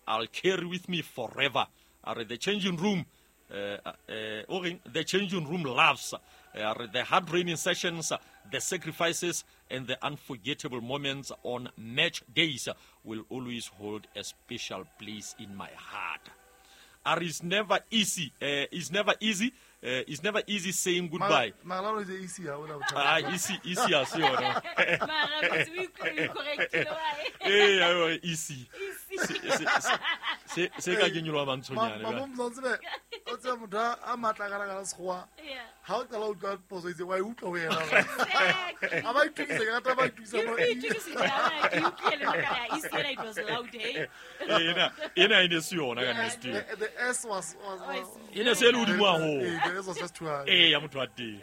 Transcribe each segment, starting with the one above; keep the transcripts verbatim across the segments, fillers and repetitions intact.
I'll carry with me forever. Are the changing room uh, uh, the changing room laughs, uh, the hard training sessions, the sacrifices, and the unforgettable moments on match days will always hold a special place in my heart. Are it's never easy. Uh, it's never easy. Uh, it's never easy saying goodbye. Ma easy. Ah, easy, easy as you know. Eh, easy. Se se ka kenyolwa mantshonyane. Ma mo tsebe o tseba motho a matla ka ka sekgowa. Ha o qala o utlwa poso itse wa e utlwa ho yena. A ba itukise ka rata ba itukisa mo. Ena ena ene se yona ka nnete. The S was was ene se le hodimo haholo. The S was just too high. Eh, ya motho wa teng.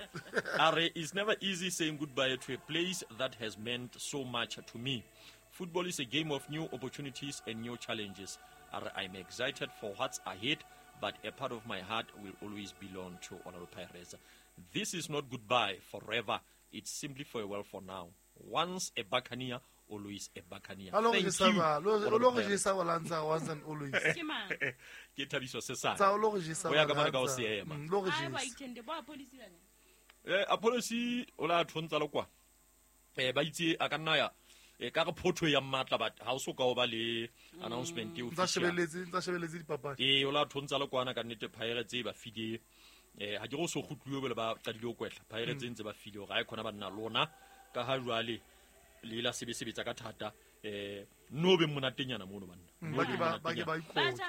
Are it's never easy saying goodbye to a place that has meant so much to me. Football is a game of new opportunities and new challenges. I'm excited for what's ahead, but a part of my heart will always belong to Orlando Pirates. This is not goodbye forever. It's simply farewell for now. Once a Buccaneer, always a Buccaneer. Thank you. Once and always. Ke Thabiso Sesane. Tsa ka mane ka o seema. Eh, a policy o la thontsa le kwa. Eh, ba itse a ka nna ya e ka re photho ya matla but ha o so ka o ba le announcement e official. Tsa shebeletse, tsa shebeletse dipapadi. Eh, o la thontsa le kwana ka nnete Pirates e ba file. Eh, ha ke go so gutluwe bele ba qadile ho kwetla. Pirates ntse ba file hore ha e khona ba nna lona ka ha jwale le la sebesebetsa ka thata. Eh, no be monatenyana mono banna. Ba ke ba ba ke ba ikotse.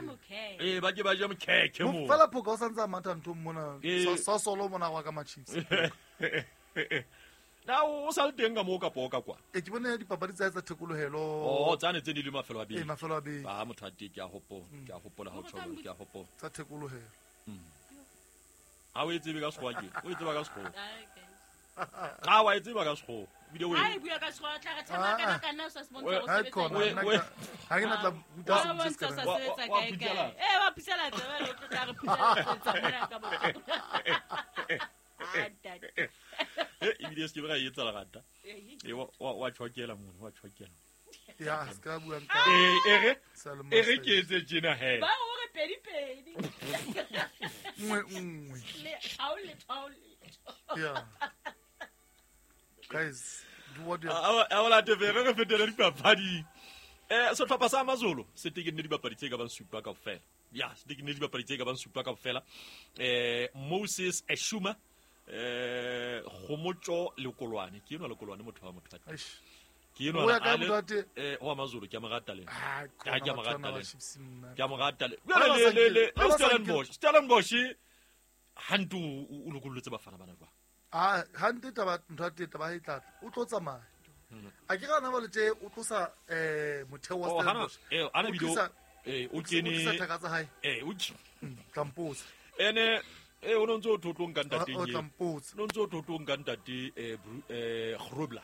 Eh, ba ke ba ja mokhekhe mo. Fela phoka o santsa matha ntho mona. Sa solo mona wa ka ma Chiefs. Na o sa le teng ka mo ka poka kwa. E ke bone dipapadi tsa tsa thekolohelo. Oh, tsane tse di le mafelo a beke. E mafelo a beke. Ba motho a teng ke a hopola, ke a hopola ha o tjho, ke a hopola. Tsa thekolohelo. Ha o e tsebe ka sekgowa ke. O e tseba ka sekgowa. Ha wa e tseba ka sekgowa. Video e. Ai bua ka sekgowa tla re thama kana kana sa se bontsha go sebetsa. Ha ke na tla ruta se se sebetsa kae kae. Eh wa phusela tsebe le tlo tla re phusela tsa mona ka bo. Ah ntate. Eh ebile se ke ba etsa lerata. E wa wa tshokela mona, wa tshokela. Ya, se ka bua nka. Eh ere. Ere ke etse tjena he. Ba o re pedi pedi. Nngwe nngwe. Le ha o le tho le. Yeah. Guys, do what you A a la tv re fetele dipapadi. Eh sehlopha sa AmaZulu se tekenne dipapadi tse ka bang supa kaofela. Ya, se tekenne dipapadi tse ka bang supa kaofela. Eh Moses Eshuma eh Khomotso Lekolwane ke enwa Lekolwane motho wa motho wa ke enwa eh wa AmaZulu ke a mo rata le ah ke a mo rata le ke a mo rata le le le le Stellenbosch Stellenbosch hantu o lokollotse bafana bana jwa ah hante taba ntho ya taba e tla o tlo tsamaya a ke gana ba le tse o tlosa eh motheo wa Stellenbosch eh ana video eh o kene thaka tsa hae eh o tlampotsa ene eh o no ntse o thotlong ka ntate o tlampotsa no ntse o thotlong ka ntate eh eh Grobler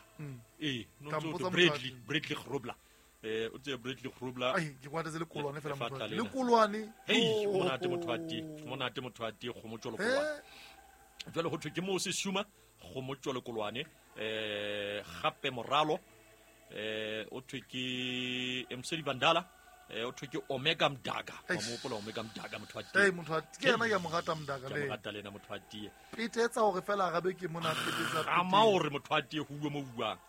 eh no ntse o Bradley Bradley Grobler eh o tse Bradley Grobler ai ke kwatetse le kolwane fela motho le kolwane hei monate motho wa teng monate motho wa teng Khomotso Lekolwane jwale ho thwe ke Moses Shuma Khomotso Lekolwane eh gape Moralo eh o thwe ke Mseli Bandala eh o thwe ke Omega Mdaka wa mo hopola Omega Mdaka motho wa teng eh motho wa ke yena ke mo rata Mdaka le ke mo rata le na motho wa teng petetsa hore fela arabe ke mona petetsa ama hore motho wa teng ho bua mo buang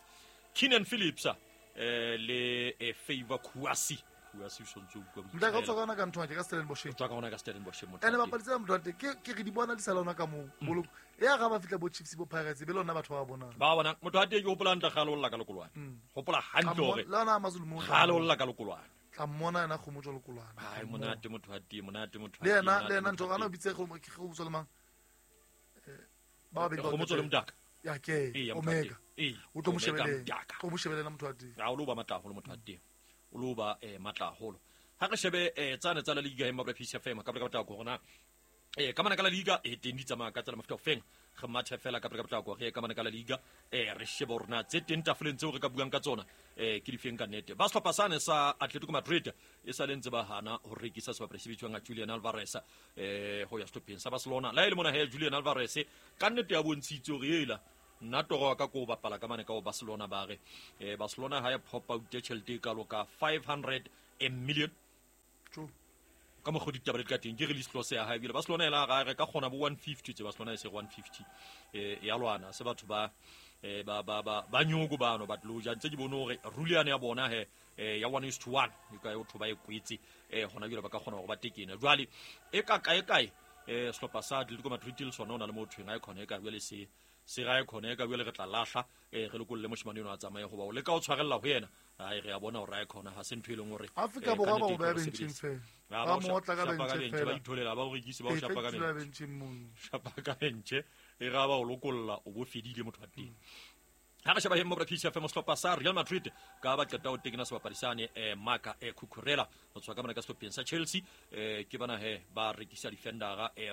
Keenan Phillips eh le eh, Favor Kouassi Kouassi o sontse o bua Mdaka o tswa ka ka ntho ka Stellenbosch o tswa ka ona ka Stellenbosch motho ene bapadi tsa motho wa teng ke ke re di bona di sala ona ka mo boloko ya ga ba fitla bo Chiefs bo Pirates be lona batho ba bona ba bona motho wa teng ke hopola ntla galo olla ka Lekolwane hopola hantle hore la ona AmaZulu mo galo olla ka Lekolwane tla mmona yena Khomotso Lekolwane ai monate motho wa teng monate motho le yena le yena ntho kana o bitse go ke go botsa le mang eh ba ba Khomotso le Mdaka ya ke Omega o tlo mo shebeleng o mo shebeleng motho wa teng ha o lo ba matla haholo motho wa teng o lo ba eh matla haholo ha re shebe eh tsane tsa la liga e Mabra P C F M ka ka batla go rona eh ka mana ka la liga e teng di tsamaya ka tsela mafuta ofeng re mathe fela ka ka batla go re ka mana ka la liga eh re shebe rona tse teng tafoleng tseo re ka buang ka tsona eh ke difeng ka nnete ba sehlopha sane sa Atletico Madrid e sa le ntse ba hana ho rekisa sebapadi se bitswang Julian Alvarez eh ho ya sehlopheng sa Barcelona la ile mona he Julian Alvarez ka nnete ya bontshitse hore ela nna toro ka ko bapala ka mane ka Barcelona ba re eh Barcelona ha ya pop out tjhelete ka loka five hundred million ka mokgwa ditaba di ka teng ke release clause ya hae ebile Barcelona ela ga re ka kgona bo one fifty tse Barcelona e se one fifty eh ya lwana se batho ba eh ba ba ba ba nyoko bano ba tlo ja ntse ke bone hore rule ya bona he eh ya one is to one e ka o thoba e kwetse eh hona jwale ba ka kgona hore ba tekene jwale e ka kae kae eh sehlopha sa Atletico Madrid le sona ona le motho eng a khone e ka jwale se se ga e khone ka jwale re tla lahla eh re lokolle moshimane eno a tsamaye hoba o le ka o tshwarella ho yena ai re a bona hore a khona ha se ntho e leng hore Afrika Borwa ba o ba benching fela ba mo otla ka bench fela ba itholela ba o rekise ba o shapa ka bench shapa ka bench e ga ba o lokolla o bo fedile motho wa teng ha re sheba hemmo P C F M sehlopha sa Real Madrid ka ba qeta ho tekena sebapadi sane eh Marc eh Cucurella ho tswa ka mona ka sehlopheng sa Chelsea eh ke bana he ba rekisa defendera eh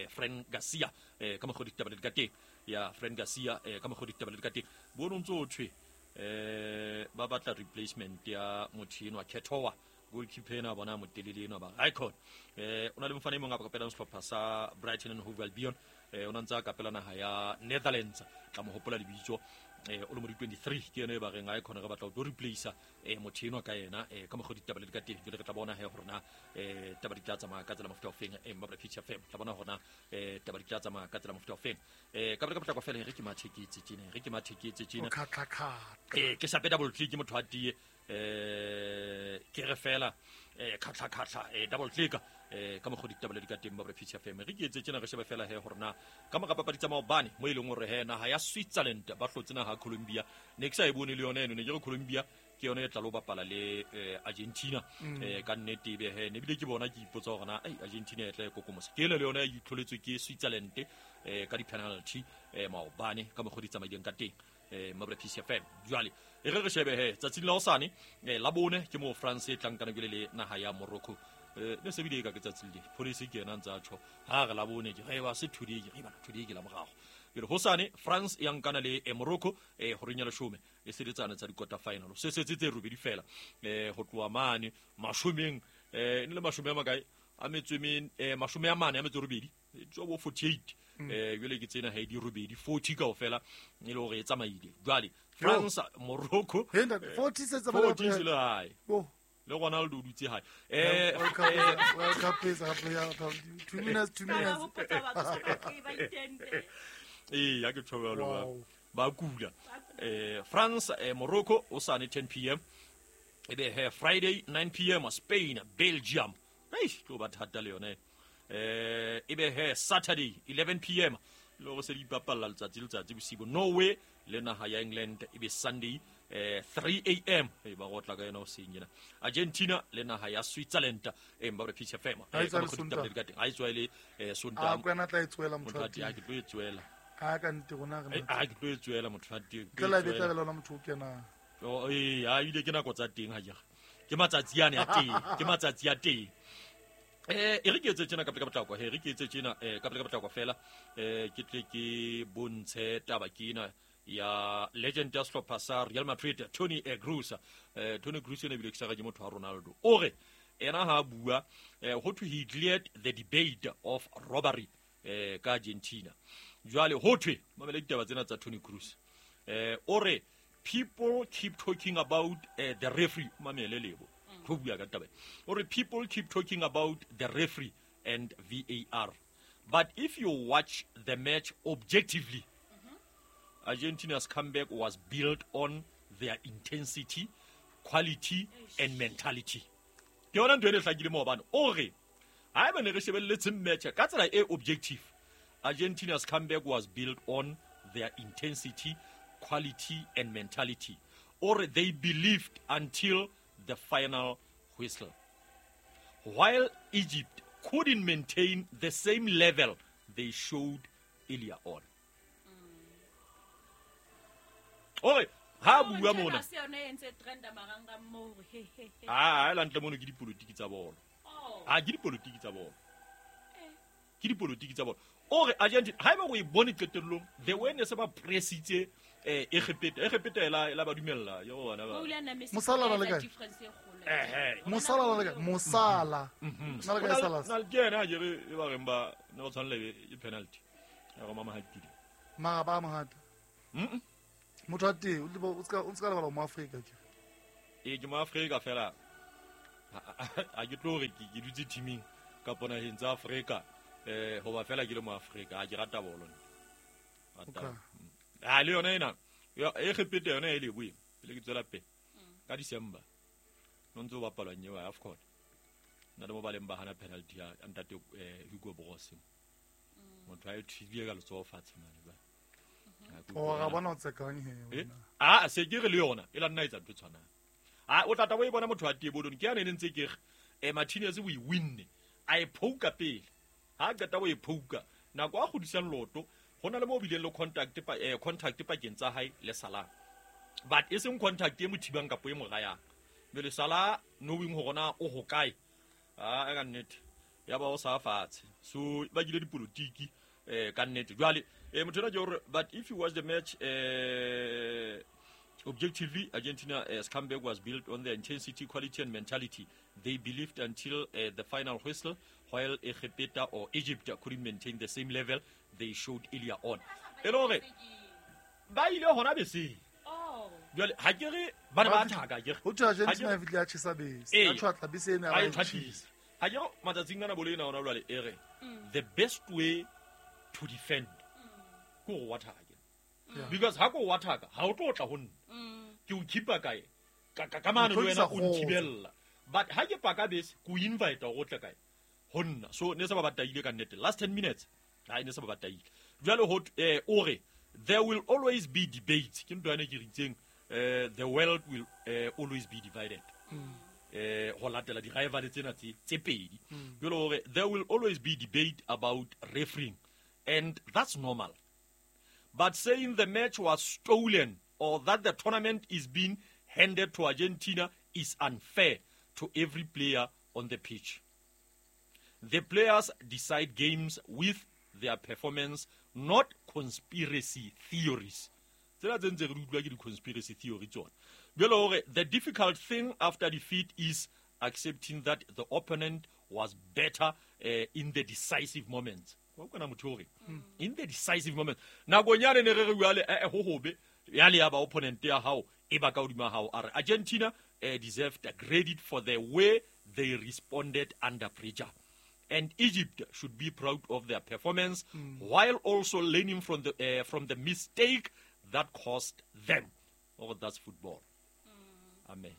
Fran Garcia eh ka mokgwa ditaba di ka teng ya Fran Garcia eh ka mokgwa ditaba di ka teng bo no ntso thwe eh ba batla replacement ya motho enwa Ketoa goalkeeper ena bona motelele ena ba icon eh ona le mofana e mong a ka sehlopha sa Brighton and Hove Albion eh ona ntsa ka pela naha ya Netherlands tla mo hopola lebitso eh o le mo di twenty-three ke yena e ba reng icon re batla ho replace eh motho enwa ka yena eh ka mokgwa ditaba le ka teng jwale re tla bona he hore na eh taba di tla tsamaya ka tsela mofuta ofeng eh Mabra P C F M tla bona hore na eh taba di tla tsamaya ka tsela mofuta ofeng eh ka ka potlako fela re ke matheketse tjena re ke matheketse tjena eh ke shape double click motho a tie eh ke re fela eh khatla khatla eh double click eh ka mokgwa ditaba le di ka teng Mabra P C F M re ke etse tjena re shebe fela he hore na ka mora papadi tsa maobane mo e leng hore he naha ya Switzerland ba hlotse naha Colombia ne ke sa e bone le yona eno ne ke re Colombia ke yona e tla lo bapala le Argentina eh ka nnete ebe he ne bile ke bona ke ipotsa hore na ai Argentina e tla e kokomosa ke ele le yona e itlholetswe ke Switzerland eh ka di penalty eh maobane ka mokgwa di tsamaileng ka teng eh Mabra P C F M jwale e re re shebe he tsatsing la hosane eh la bone ke mo France e tlang kana ke le naha ya Morocco eh ne se bile ka ke tsatsing le police ke yena ntsa tjho ha re la bone ke re ba se today ke re bana today ke la morago ke re hosane France ya nkana le Morocco eh horeng ya leshome e sebetsana tsa di quarter final se setse tse robedi fela eh ho tloha mane mashomeng eh ne le mashome a makae a metswemeng eh mashome a mane a metso robedi tswa bo forty-eight eh jwale ke tsena ha di robedi forty kaofela e le hore e tsamaile jwale France Morocco forty se tsamaile forty le hae le Ronaldo o dutse hae eh World Cup is up ya two minutes two minutes eh ya ke tshobelo ba kula eh France eh Morocco o sane ten p m ebe he Friday nine p m Spain Belgium eish tlo ba thata le yone eh ebe he Saturday eleven p m le go se di bapalla letsatsi letsatsi bosigo Norway le naha ya England ebe Sunday eh three a m e ba gotla ka yona o seng yena Argentina le naha ya Switzerland e mba re P C F M a tswa ile eh Sontaha a kwena tla e tswela motho a ke tlo e tswela a ka nte rona re a ke tlo e tswela motho a teng ke la betla lona motho o kena o eh a ile ke nako tsa teng ha jega ke matsatsi ane a teng ke matsatsi a teng eh e re ke etse tjena ka pele ka potlako he re ke etse tjena eh ka pele ka potlako fela eh ke tle ke bontshe taba ke ena ya legend ya sehlopha sa Real Madrid Toni Kroos eh Toni Kroos ene bile ke sa ke motho wa Ronaldo o re ena ha bua ho thwe he cleared the debate of robbery eh ka Argentina jwale ho thwe mamela ditaba tsena tsa Toni Kroos eh o re people keep talking about uh, the referee mamele lebo ho bua ka taba o re people keep talking about the referee and V A R but if you watch the match objectively, mm-hmm. Argentina's comeback was built on their intensity, quality and mentality. Ke yona ntho e hlakile mo bana o re ha eba ne re shebelletse match ka tsela e objective, Argentina's comeback was built on their intensity, quality and mentality. Or they believed until the final whistle. While Egypt couldn't maintain the same level they showed earlier on. Oi, ha bua mona. Ah, la ntle mono ke dipolitiki tsa bolo. Ah, ke dipolitiki tsa bolo. Ke dipolitiki tsa bolo. Ore Argentina, ha eba go e bone qetellong, the way ne se ba pressitse eh Egepeta, Egepeta ela ela ba dumella yo bona ba. Mosala ba le kae? Eh eh. Mosala ba le kae? Mosala. Na le kae Salah? Na le ke ena je re ba reng ba ne ba tshwanela e penalty. Ya go mama hatile. Mara ba mohata. Mhm. Motho a teng o ska o ska lebala mo Afrika ke. E ke mo Afrika fela. A ke tlo re ke dutse teaming ka ponaheng tsa Afrika eh hoba fela ke le mo Afrika a ke rata bolo. Rata. A le yona ena e Egepete yona e le bue pele ke tswela pele ka December no ntse o bapalwa nyewa ya AFCON nna le mo ba leng ba hana penalty ya ntate Hugo Broos motho a e thibile ka letsoho fatshe mane ba o ga bona o tsekang he a se ke re le yona e la nna etsa ntho tshwanang a o tata o e bona motho a tebolong ke yana ne ntse ke re eh Martinez o e winne a e phouka pele ha qeta o e phouka nako a godisang loto hona le mo bileng le contact pa eh contact pakeng tsa hae le Salah but e seng contact e mothibang kapo e morayang le Salah knowing hore na o ho kae a ka nnete ya ba o sa fatshe so ba gile dipolitiki eh ka nnete jwale eh motho ena ke hore but if you watch the match eh objectively Argentina as comeback was built on their intensity, quality and mentality. They believed until uh, the final whistle, while Egepeta or Egypt couldn't maintain the same level they showed earlier on. E le hore ba ile hona bese oh jwale ha ke re ba ne ba thaka ke ho tjha Argentina e fihle ya tjhesa bese ya tshwatla bese ena ba e tshwatisa ha ke re matsatsing ana bolo ena hona jwale e re the best way to defend ko go wa thaka because ha ko wa thaka ha o tlo tla ho nna ke o khipa kae ka ka mane le wena o nthibella but ha ke paka bese ko invite go tla kae ho nna so ne se ba bataile ka nnete last ten minutes ha ne se ba bataile jwale ho eh o re there will always be debate ke ntho ene ke ritseng eh the world will uh, always be divided eh ho latela di rival tsena tse tse pedi jwale hore there will always be debate about refereeing and that's normal but saying the match was stolen or that the tournament is being handed to Argentina is unfair to every player on the pitch. The players decide games with their performance, not conspiracy theories. Tsena tse ntse re utlwa ke di-conspiracy theory tsona. Jwale hore the difficult thing after defeat is accepting that the opponent was better uh, in the decisive moments. Wa kona motho hore in the decisive moment nakong yane ne re re jwale eh ho hobe ya le ya ba opponent ya hao e ba ka hodima hao a re Argentina eh, deserved a credit for the way they responded under pressure and Egypt should be proud of their performance mm. while also learning from the uh, from the mistake that cost them. Oh, that's football. Mm. Amen.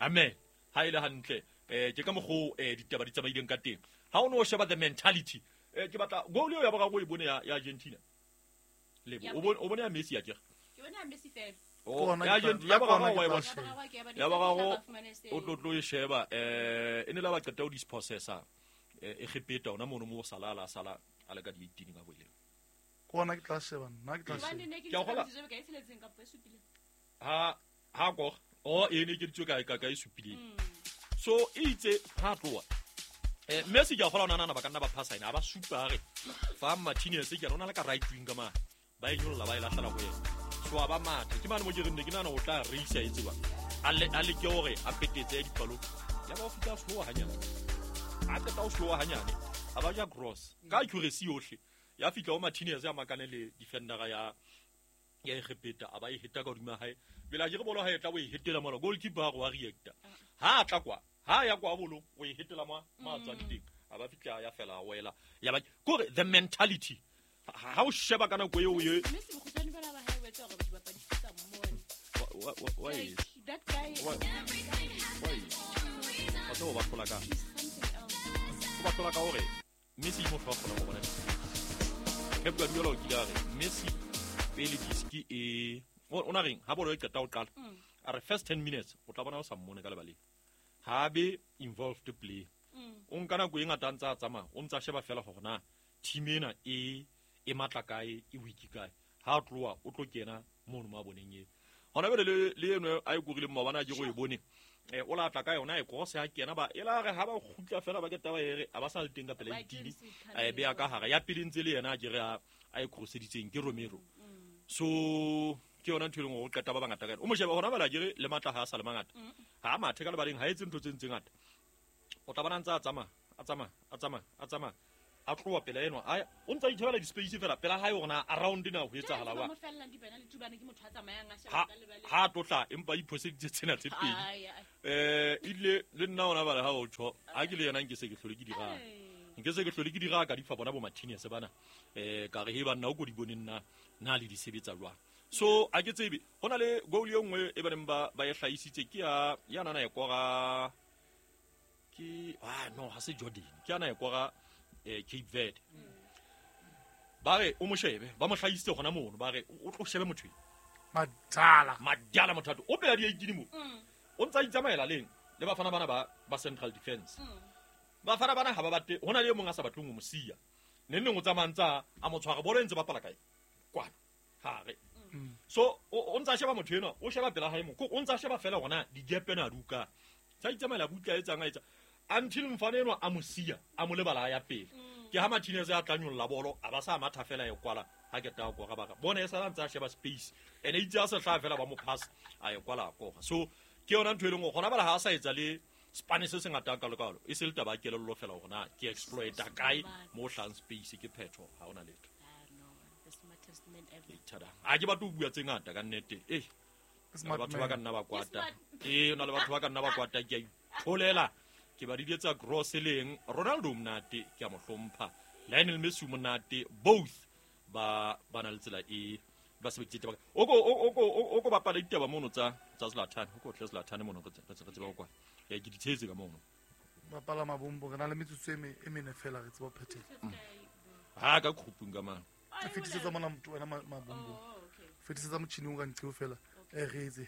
Amen. Ha ile hantle eh ke ka mogo eh ditaba di tsamaileng ka teng. Ha o no sheba the mentality eh ke batla goal eo ya ba go e bone ya Argentina. Lebo o bone o bone ya Messi ya ke. Ke bone ya Messi fela. Oh, ya Argentina ya ba ga wa e bona. Ya ba ga go o tlo tlo e sheba eh e ne la ba qeta o dispossessa eh Egepeta ona mono mo sala la sala a le ka di eighteen ka boile. Kona ke tla sheba nna ke tla sheba. Ke a gola. Ha ha go o e ne ke ditso ka ka ka e supileng. So e itse ha tloa. Eh Messi ke a gola ona nana ba ka nna ba phasa ina ba supa re fa Martinez ke rona le ka right wing ka ma ba e nyolla ba e lahlela go yena. So ba mathe ke mane mo ke re nne ke nana o tla reisa e tseba a le a le ke hore a petetse dipalo ya ba o fitla slow hanyane a qeta o slow hanyane a ba ja cross ka accuracy yohle ya fitla o Martinez ya makane le defender ya ya Egepeta a ba e heta ka hodima hae bela ke re bolo ha e tla o e hetela mola goalkeeper go wa reacta ha tla kwa ha ya kwa bolo o e hetela ma ma tswa teng a ba fitla ya fela wela ya ba kore the mentality ha o sheba kana go eo ye Messi bokgutshwane bana ba hae wetsa hore dibapadi tsa mmone wa wa that guy why wa tlo ba hlola ka o ba hlola ka hore Messi mo hlola go bona Pep Guardiola o kile a re Messi pele diski e o na reng ha bolo e qeta o qala a re first ten minutes o tla bona o sa mmone ka lebaleng ha be involved play o nka nako e ngata ntsa tsamaya o ntsa sheba fela hore na team ena e e matla kae e weak kae ha tloa o tlo kena mono ma boneng e hona bele le le eno a e korile mma bana ke go e bone eh o la tla ka yona e cross ha kena ba e la re ha ba khutla fela ba ke taba e re a ba sa le teng ka pela itini a e beya ka hara ya pele ntse le yena a ke re a e crosseditseng ke Romero so ke yona ntho e leng hore o qeta ba bangata ka yona o mo sheba hona bala ke re le matla ha a sa le mangata ha mathe ka lebaleng ha etse ntho tse ntse ngata o tla bona ntse a tsamaya a tsamaya a tsamaya a tsamaya a tloa pela eno a o ntsa itshebela di-space fela pela hae hore na around na ho etsahala wa ha ha tlotla empa iphoseditse tsena tse pedi eh ile le nna ona bala ha o tjho ha ke le yena nke se ke hlole ke dira nke se ke hlole ke dira ka di fa bona bo Martinez bana eh ka re he banna o ko di bone nna na le di sebetsa jwang. So a ke tsebe hona le goal e nngwe e baneng ba ba e hlahisitse ke ya ya nana e kora ke ah no ha se Jordan ke ana e kora eh Cape Verde ba re o mo shebe ba mo hlahisitse hona mono ba re o tlo shebe motho madala madala motho o pela di eighteen mo o ntsa itsamaela leng le bafana bana ba ba central defense bafana bana ha ba batle hona le mong a sa batleng ho mo siya ne neng o tsamantsa a mo tshwara bolo ntse ba pala kae kwana ha re so o ntsa sheba motho ena o sheba pela hae mo o ntsa sheba fela hona di gap ena duka tsa itsamaela butla etsang a etsa until mfana enwa a mo siya a mo lebala ya pele ke ha Martinez a tla nyolla bolo a ba sa matha fela e kwala ha ke ta go ga ba bona e sa ntsa sheba space ene itse a se hla fela ba mo pass a e kwala go so ke yona ntho e leng gona bala ha a sa etsa le Spanish se ngata ka lokalo e se le taba kelello fela hore ke exploiter kae mo hlang space ke phetho ha ona letho. A ke batho bua tse ngata ka nnete eh batho ba ka nna ba kwata eh ona le batho ba ka nna ba kwata ke a itholela ke ba diletsa gross leng Ronaldo monate ke a mo hlompha Lionel Messi monate both ba ba na le tsela e ba sebeditse taba o ko o ko o ko bapala ditaba mono tsa tsa Zlatan o ko tle Zlatan mono re tseba kwa ya ke ditshetse ka mono bapala mabombo re na le metsotso e e mene fela re tseba phethela ha ka khupung ka mang ke fetisetsa mona motho wena mabombo fetisetsa motjhini o ka nqeo fela e re itse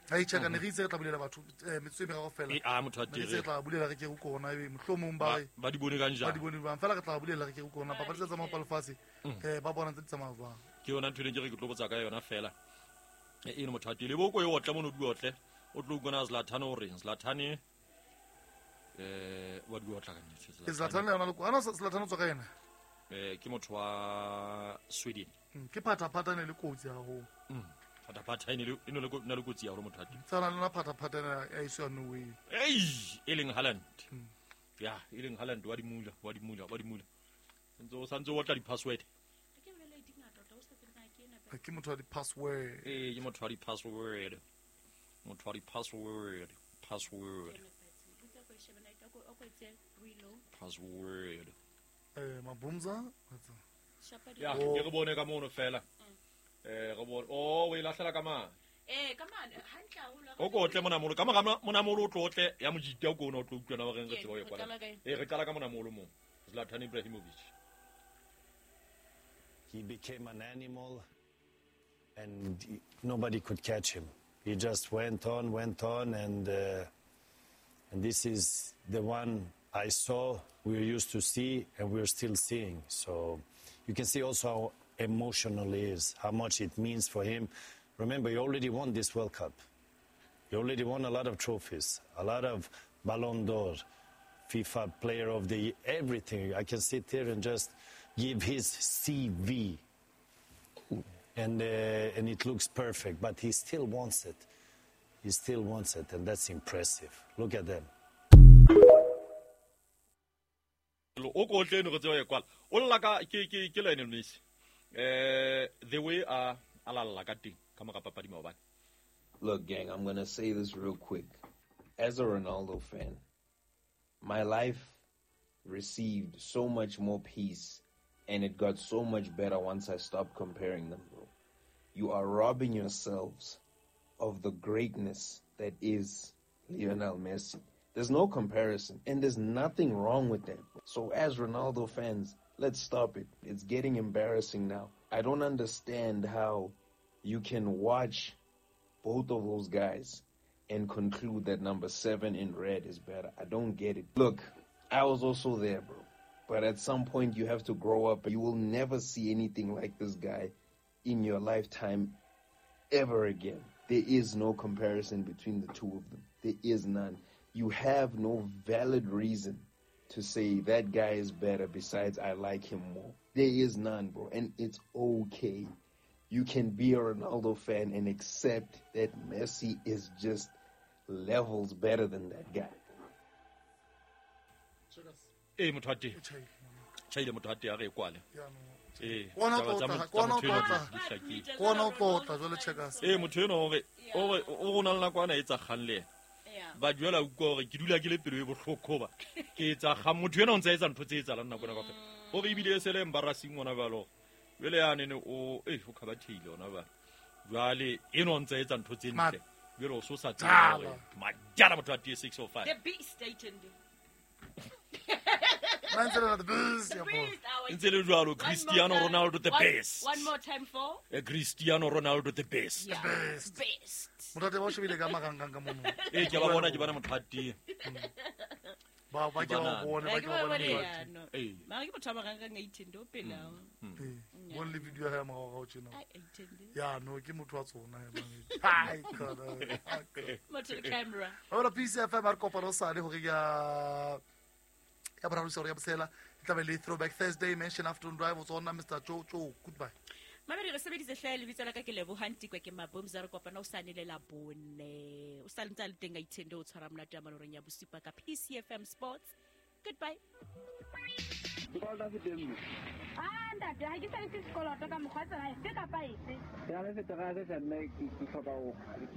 ha itjhaka ne re itse re tla bulela batho metsotso e meraro fela e a motho a tere re tla bulela re ke go kona ebe mohlomong ba re ba di bone ka njang ba di bone bang fela re tla bulela re ke go kona papadi tsa tsamaya lefatshe eh ba bona tse di tsamaya jwang ke yona ntho e ke re ke tlo botsa ka yona fela e eno motho a tele boko e otla mono di otle o tlo bona Zlatan o reng Zlatan eh wa di otla ka nnete Zlatan le yona le ana Zlatan o tswa ka yena eh ke motho wa Sweden ke phata phata ne le kotsi haholo phata phata ene le ene le na le kotsi ya hore motho a teng tsana lona phata phata ya iso no way ei e leng Haaland ya e leng Haaland wa di mula wa di mula wa di mula ntse o santse o tla di password ke bolele di ngata tota o sa tsena ke ena ke motho wa di password eh ke motho wa di password motho wa di password password password eh mabumza ya ke re bone ka mono fela eh re bone oh o e lahlela ka mane eh ka mane hantle haholo o ko tle monamolo ka mora monamolo o tlotle ya mojita o ko ona o tlo utlwana ba reng re tseba o e kwala eh re qala ka monamolo mo Zlatan Ibrahimovic. He became an animal and nobody could catch him. He just went on, went on, and uh, and this is the one I saw, we're used to see, and we're still seeing. So you can see also how emotional he is, how much it means for him. Remember, he already won this World Cup. He already won a lot of trophies, a lot of Ballon d'Or, FIFA Player of the Year, everything. I can sit here and just give his C V. And, uh, and it looks perfect, but he still wants it. He still wants it, and that's impressive. Look at them. O ko tle no re tseba e kwala o lla ka ke ke ke Lionel Messi eh the way a a lalla ka teng ka mora papadi maobane. Look, gang, I'm going to say this real quick. As a Ronaldo fan, my life received so much more peace and it got so much better once I stopped comparing them, bro. You are robbing yourselves of the greatness that is Lionel Messi. There's no comparison, and there's nothing wrong with that. So as Ronaldo fans, let's stop it. It's getting embarrassing now. I don't understand how you can watch both of those guys and conclude that number seven in red is better. I don't get it. Look, I was also there, bro. But at some point, you have to grow up. You will never see anything like this guy in your lifetime ever again. There is no comparison between the two of them. There is none. You have no valid reason to say that guy is better besides I like him more. There is none, bro. And it's okay. You can be a Ronaldo fan and accept that Messi is just levels better than that guy. Ee motho wa teng. Tjhaile motho wa teng a re e kwale. Ee. Kona tlotla, kona tlotla. Kona tlotla jwale Checkers. Ee motho eno hore hore o rona le nako ana etsa kgang le yena. Ba duela utlwa hore ke dula ke le pelo e bohloko ba. Ke etsa kgang motho ena o ntse a etsa ntho tse etsahalang nako ena kaofela. Hore ebile e se le embarrassing hona jwale hore jwale yane ne o eh o khabatheile hona jwale. Jwale eno o ntse a etsa ntho tse ntle. Jwale o so sa tsebe hore majala motho wa T six oh five. The beast Aitende. The beast. Ntse le jwalo Cristiano Ronaldo the best. One more time for Cristiano Ronaldo the best. Yeah. Best. Best. Motho ba shebile ka makangang ka mono. Eh ke ba bona ke bona motho a teng. Ba ba ke ba bone ba ke ba bone. Eh. Mara ke motho a makangang Aitende o pela. Eh. Bon le video ya morao ga o tjena. Aitende. Ya no ke motho wa tsona ya mane. Hai kana. Motho le camera. Ora P C F M re kopana sale hore ya ya boraro se re ya bosela e tla be le Throwback Thursday mention afternoon drive o tsona Mister Joe Joe goodbye. Mabedi re sebeditse hle lebitso la ka ke Lebohang Tikwe ke Mabomza re kopana o sane le la bone o sa ntse le teng Aitende o tshwara monate ya maloreng ya bosupa ka P C F M Sports. Goodbye. Ah ntate ha ke sa le sekoloto ka mokgwa tsela efe kapa efe. Ya le fetara se sa nna ke hloka ho.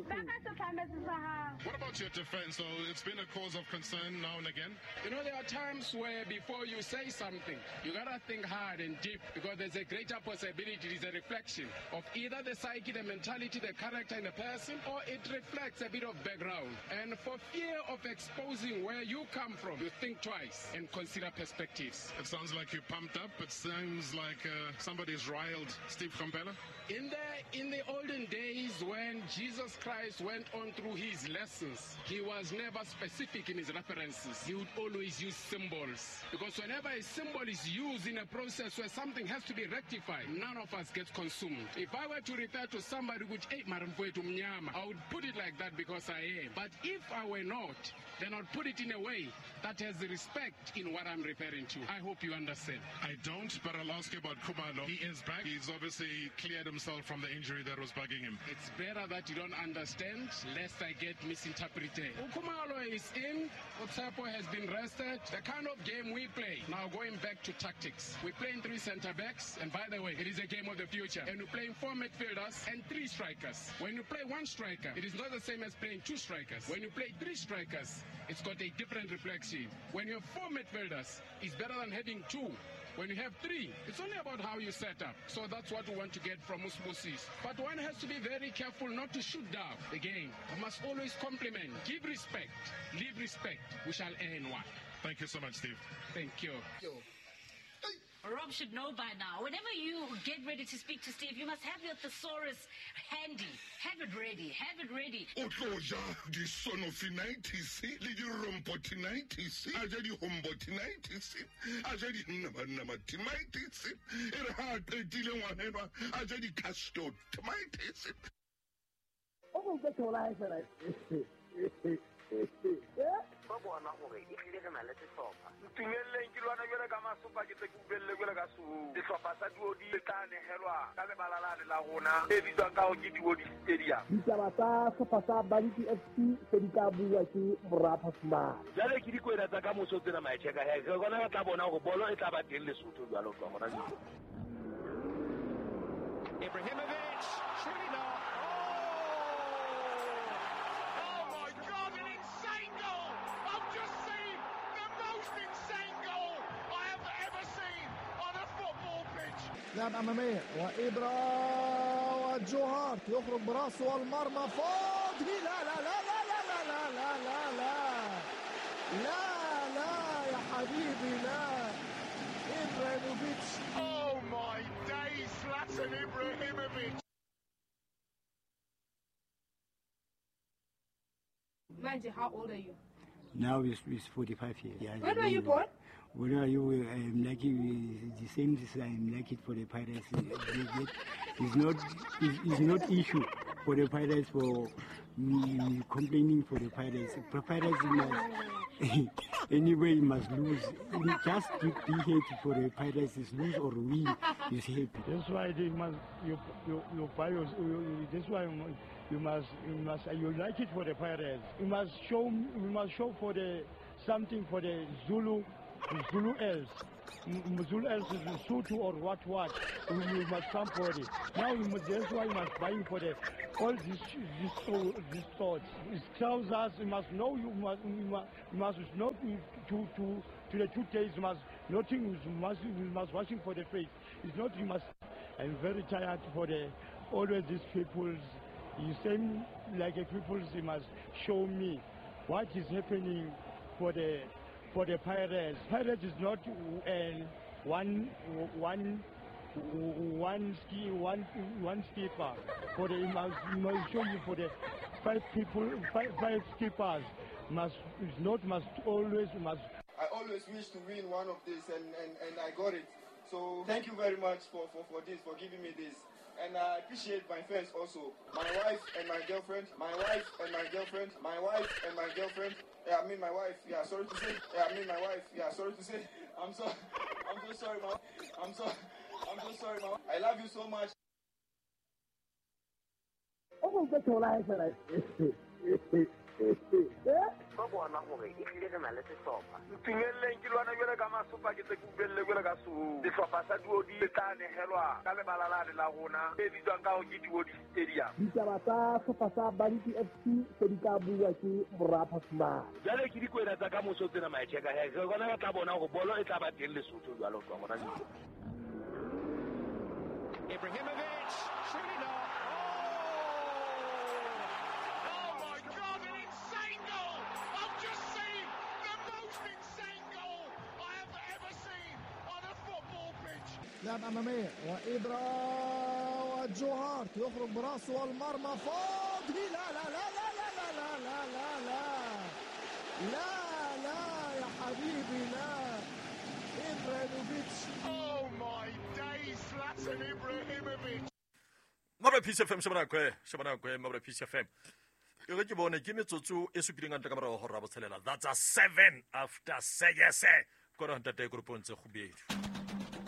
Ba ka se tlametse sa hao. What about your defense though? It's been a cause of concern now and again. You know there are times where before you say something, you got to think hard and deep because there's a greater possibility it is a reflection of either the psyche, the mentality, the character in the person, or it reflects a bit of background. And for fear of exposing where you come from, you think twice and consider perspectives. It sounds like you're pumped up. It sounds like uh, somebody's riled Steve Komphela. In the, in the olden days when Jesus Christ went on through his lessons, he was never specific in his references. He would always use symbols. Because whenever a symbol is used in a process where something has to be rectified, none of us gets consumed. If I were to refer to somebody who would, hey, I would put it like that because I am. But if I were not, then I'd put it in a way that has respect in what I'm referring to. I hope you understand. I don't, but I'll ask you about Khumalo. He is back. He's obviously cleared himself from the injury that was bugging him. It's better that you don't understand, lest I get misinterpreted. Khumalo is in. Otsapo has been rested. The kind of game we play, now going back to tactics, we're playing three centre-backs, and by the way, it is a game of the future. And we're playing four midfielders and three strikers. When you play one striker, it is not the same as playing two strikers. When you play three strikers, it's got a different reflection. When you have four midfielders, it's better than having two. When you have three, it's only about how you set up. So that's what we want to get from Usbusis. But one has to be very careful not to shoot down the game. We must always compliment, give respect, leave respect. We shall earn one. Thank you so much, Steve. Thank you. Rob should know by now. Whenever you get ready to speak to Steve, you must have your thesaurus handy. Have it ready. Have it ready. O tlo ja disonofinitis le dirompotinitis, a ja dihombotinitis, a ja dinnamanamatitis, e re ha a qetile ngwanenwa, a ja dicastotomitis. O go ke thola e fela. Ba bona hore e tlile re na le sehlopha. Ntumelleng ke lwana jwale ka masopa ke tse ke ubelle jwale ka suhu. Sehlopha sa Duodi se tla nehelwa ka lebala lane la rona e bitswang ka hore ke Duodi Stadium. Ditaba tsa sehlopha sa Banki F C se di tla bua ke Morapa Fumane. Jwale ke dikwena tsa ka moso tsena maetjheka he. Re bona re tla bona hore bolo e tla ba teng Lesotho jwalo ka hona jwale. Ibrahimovic, surely not. Oh my God, an insane goal! I've just seen the most insane goal I have ever seen on a football pitch. لعب أمامية وإبرا وجو هارت يخرج براسه والمرمى فاضي. لا لا لا لا لا لا لا لا لا لا لا يا حبيبي لا. إبراهيموفيتش. Oh my days, Zlatan Ibrahimovic. Manji, how old are you? Now it's, it's forty-five years. Yeah, When were you born? When are you? I'm lucky. The same as I'm lucky for the Pirates. It's not. It's, it's not issue for the Pirates for me complaining for the Pirates. The Pirates must anyway must lose. Just to be happy for the Pirates is lose or win is happy. That's why they must you you you buy your, you, that's why you must you must you like it for the Pirates. You must show you must show for the something for the Zulu. Zulu else. Zulu else is Sotho or what what. You must come for it. Now you must, that's why you must buy for the all these these these thoughts. It's trousers. You must know. You must you must, you must not to to to the two days. You must nothing. You must you must washing for the face. It's not you must. I'm very tired for the always these people's. You same like a people's. You must show me what is happening for the. For the Pirates. Pirates is not uh, one, one, one ski, one, one skipper. For the must, must show you for the five people, five, five skippers must is not must always must. I always wish to win one of these, and, and, and I got it. So thank you very much for, for, for this, for giving me this. And I appreciate my fans also. My wife and my girlfriend, my wife and my girlfriend, my wife and my girlfriend. Yeah, I mean my wife. Yeah, sorry to say. Yeah, I mean my wife. Yeah, sorry to say. I'm so, I'm so sorry, ma. I'm so, I'm so sorry, ma. I love you so much. Oh, that's all I said. Ba bona gore e tlile re na le sehlopha. Ntumelleng ke lwana jwale ka masopa ke tse ke ubelle jwale ka sou. Sehlopha sa Duodi se tla nehelwa ka lebala lane la rona e bitswang ka hore ke Duodi Stadium. Ditaba tsa sehlopha sa Bantu F C se di tla bua ke Morapa Fumane. Jwale ke dikwena tsa ka moso tsena maetjeka he. Re bona re tla bona hore bolo e tla ba teng Lesotho jwalo ka bona. Ibrahimovic, surely not. لعب أمامية وإبرا وجوهارت يخرج براسه والمرمى فاضي. لا لا لا لا لا لا لا لا لا لا لا يا حبيبي لا. إبراهيموفيتش. Oh my days, Zlatan Ibrahimovic. Mabra Peace F M shebana kwe shebana kwe Mabra Peace F M. E re ke bone ke metsotso e supileng ka ntle ka morago ho hora botshelela. That's a seven after six. Kora ntate e grupontse kgubedu.